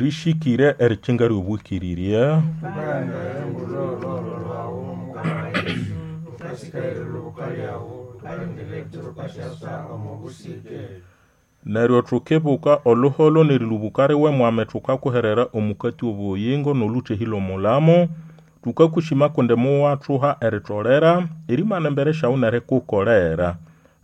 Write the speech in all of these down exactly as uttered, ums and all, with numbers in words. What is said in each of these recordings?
Rĩsĩkĩre erikinga ly'obwĩkĩrĩrya. Tukaghenda engulololo lwawu Mukama Yesu, thukasikaya erilubuka lyawu, thukalindira ekiro wukasyasa omo busike. Neryo tukibuka oluholo n'erilubuka riwe Mwami, tukakuherera omukati w'obuyingo n'olũthehĩ l'omulamo. Tukakushima kundi muwathuha eritolera erimana embere syawu n'erikukolera.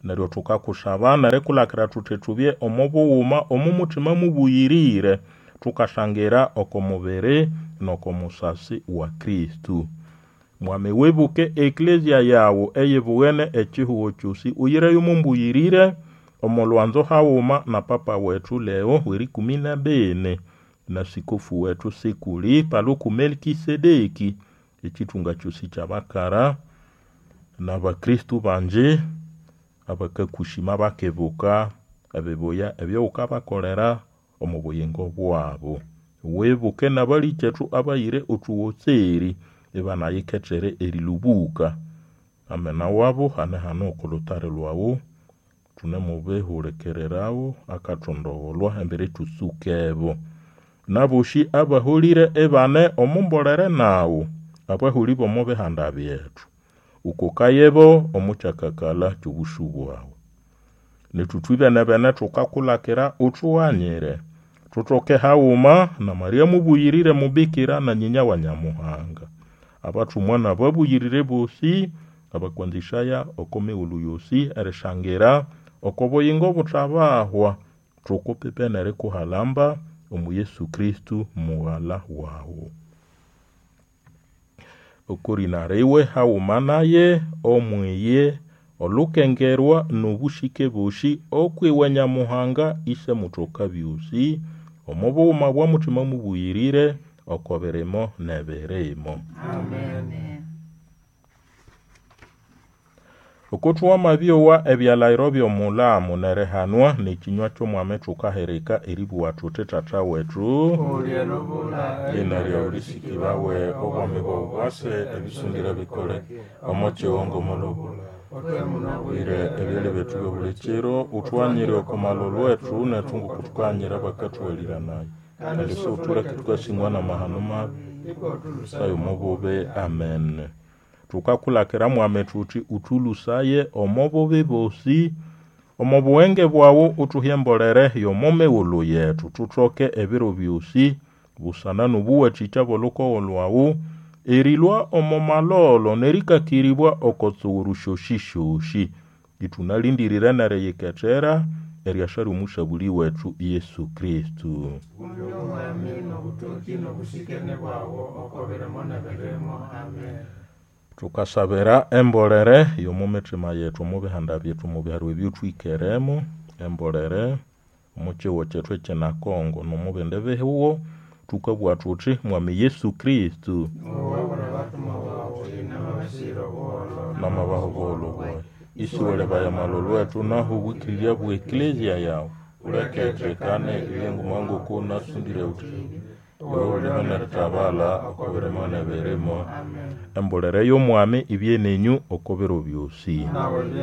Neryo tukakusaba n'erikulakira thuthi thubye omo bughuma omo muthima mũbũyĩrĩre, tukashangira oko mubiri n'oko musasi wa Kristo. Mwami, wibuke eklezia yawu eyibughene ekihugo kyosi, uyireyo omo mbũyĩrĩre omo lwanzo haghuma na Papa wethu Leo w'erĩkũmĩ na bini na sikofu wethu Sikuli Paluku Melkisedeki, ekithunga kyosi ky'abakara n'Abakristo bangi abakakushima bakibuka ebibuya ebyowukabakolera omo buyingo bwabo. Wibuke n'abalikethu abayire othuwotseri ibanayikethere erilubuka. Amena wabo hane hano oko lutari lwawu, thunemubihulikirirawo akathondogholwa embere thutsukebo. N'abosi abaholire ibane omo mbolere nawu, abaholĩ b'omo bihanda byethu, ukokayebo omo kyakakalha ky'obũsũ bwawu. Nethu ithwibene-bene thukakulakira uthughanyire, thuthoke haghuma na Maria mũbũyĩrĩre mubikira na nyinya wa Nyamuhanga, abathumwa n'ababũyĩrĩre bosi abakwanzĩsaya oko mighulhu yosi erishangira oko buyingo buthabahwa, thukupipe n'erikuhalamba omu Yesu Kristo mughala wawu. Oko rĩna riwe haghuma naye omwiye olukengerwa n'obũsĩke bosi okwiwe Nyamuhanga Ĩse Mutoka byosi, omo bughuma bwa Mutima Mũbũyĩrĩre, oko birimo n'ebirimo. Amen. Oko thuwamabyowa ebyalahiro by'omulamo n'erihanwa n'ekinywa ky'Omwami thukahirika eribugha thuthi: Tata wethu, Uli elubula, lina lyawu lisikibawe, obwami bwawu bwase, ebisungire bikoleke omo kihongo omolubula. Utwe muno Wire ebyalya byethu by'obuli kiro, uthughanyire oko malolo wethu nethu ngoko thukahanyira abakathughaliranaya, kandi siwuthuleke thukasingwa n'amahano mabi, sayo omo bubi. Amen. Thukakulakira Mwami thuthi uthulhusaye omo bubi bosi, omo bughenge bwawu uthuhe embolere y'omo mighulhu yethu, thuthoke ebiro byosi busana n'obuwathikya bw'olukogho lwawu, erilhwa omo malolo n'erĩkakĩrĩbwa oko tsuguru syosi-syosi, ithũnalĩndĩrĩre n'eriyikethera eryasa ly'Omusabũlĩ wethu Yesu Kristo. Kundi Omwami n'obutoki n'obusikene bwawu oko birimo n'ebirimo. Amen. Thukasabira embolere y'omo mithima yethu, omo bihanda byethu, omo biharo ebyothwikeremo, embolere omo kihugho kyethu ekyina Kongo n'omo bindi bihugho, thukabugha thuthi Mwami Yesu Kristo Owabura abathumwa bawu inamabasihira obuholho namabaha obuholho bwayi, isiwalebaya amalolo wethu naho obwikirirya bwa eklezia yawu, uleke ethekane ibye nguma ngoko nasundire uthi iwe ulime n'erithabala oko birimo n'ebirimo. Amen. Embolere y'Omwami ibye nenyu oko biro byosi. Nawe bye